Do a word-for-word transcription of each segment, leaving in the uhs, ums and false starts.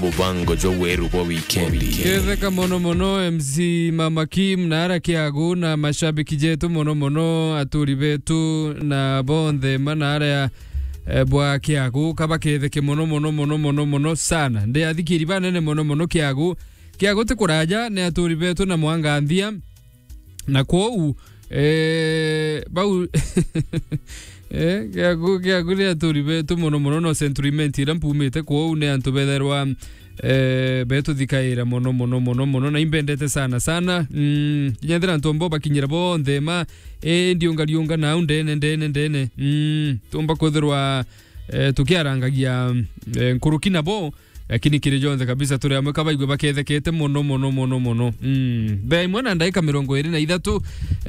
Mubango jwa weru bwa wikendi. Ketheka mono mono M C Mama Kim na ara Kiagu na mashabiki jetu mono mono, aturi betu na bonthe mana aria, eh, bwa Kiagu, kaba ketheke mono mono mono mono mono sana. Ndi athikiri banene mono mono Kiagu. Kiagu ti kuraja, ni aturi betu na mwanganthia. Na kwou, eh, bau, eh, Kiagu, Kiagu ni aturi betu mono mono, no Century Mint iria mpumite kwou ni antu betherwa, eh, betuthikaira mono mono mono mono, na imbendete sana sana. Mm, kinya ethira antu ambo bakinyira bonthe ma, eh, ndiunga riunga nau ndene, ndene, ndene. Mm, tumba kwithirwa, eh, tukiarangagia, eh, nkuruki nabo, lakini kiri jonthe kabisa turi amwe kabaigue bakethekete mono, mono, mono, mono. Mm. Thaa imwe na ndaika mirongo iri na ithatu,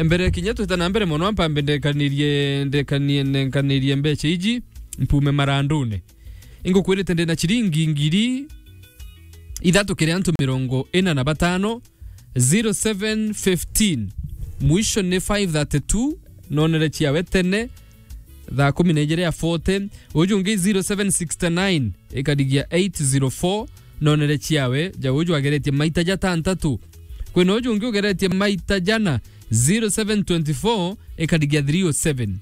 mbere kinya twita na mbere mono, ampambe ndekanirie, ndekanie-, ndekanirie mbecha iji, mpume marandune. Ingukwirite ndina chiringi ngiri ithatu kiri antu mirongo ina na batano, zero seven fifteen. Mwisho ni five thirty-two, nonere chiawe tene, thaa kumi na ijiri ya forty. Uju ungi zero seven sixty-nine, ikarigia eight zero four, nonere chiawe, ja uju ageretie maita jatantatu. Kwina uju ungi ugeretie maita jana, zero seven twenty-four, ikarigia three oh seven.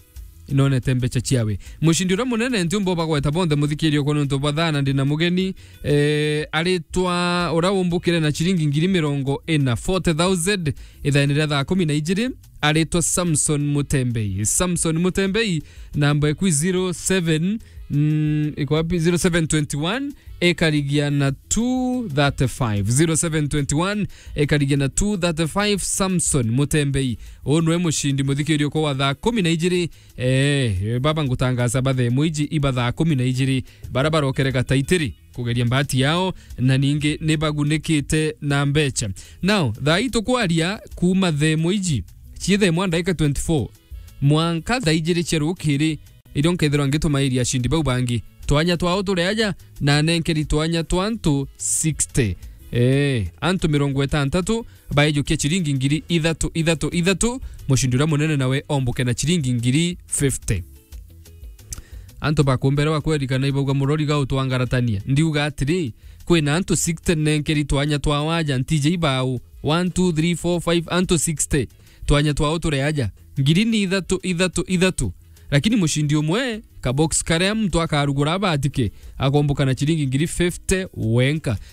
Inonete mbecha chiawe. Mushindi uria munene ntiumba ubagweta bonthe muthikirio kwa nontu bwa thana ndina mugeni, eh, aritwa uria umbukire na chiringi ngiri mirongo ina, forty thousand, ithaene ria thaa kumi na ijiri, aritwa Samson Mutembei. Samson Mutembei, namba eku zero seven, mm, iko wapi? Zero seven twenty-one, ikarigia na two thirty-five. Zero seven twenty-one, ikarigia na two thirty-five, Samson Mutembei. Uu nwe mushindi muthikirio kwa wa thaa kumi na ijiri. Eh, baba ngutangaza bathe mwiji iba thaa kumi na ijiri. Bara barokere gataitiri kugeria mbati yao, na ningi ni bagunikite na mbecha. Now, thaa ii tukwaria kuuma thaa imwe iji, cii thaa imwe na ndaika twenty-four, mwanka thaa ijiri cia rukiri, irio nkethirwa ngitumairia ashindi bau bangi. Twanya twao turi aja, na nenkeri twanya twa antu sixty. Eh, antu mirongo itantatu, baejukia chiringi ngiri ithatu, ithatu, ithatu, mushindi uria munene nawe ombuke na chiringi ngiri fifty. Antu bakumbere bakwerikana ibauga, "Murori ga utwangaratania." Ndiuga atiri, kwina antu sixty nenkeri twanya twa waja, ntije ibau, one, two, three, four, five, antu sixty. Twanya twao turi aja. Ngiri ni ithatu, ithatu, ithatu. Lakini mushindi umwe, ka box karia muntu akarugura abatike, akombuka na chiringi ngiri fifty wenka.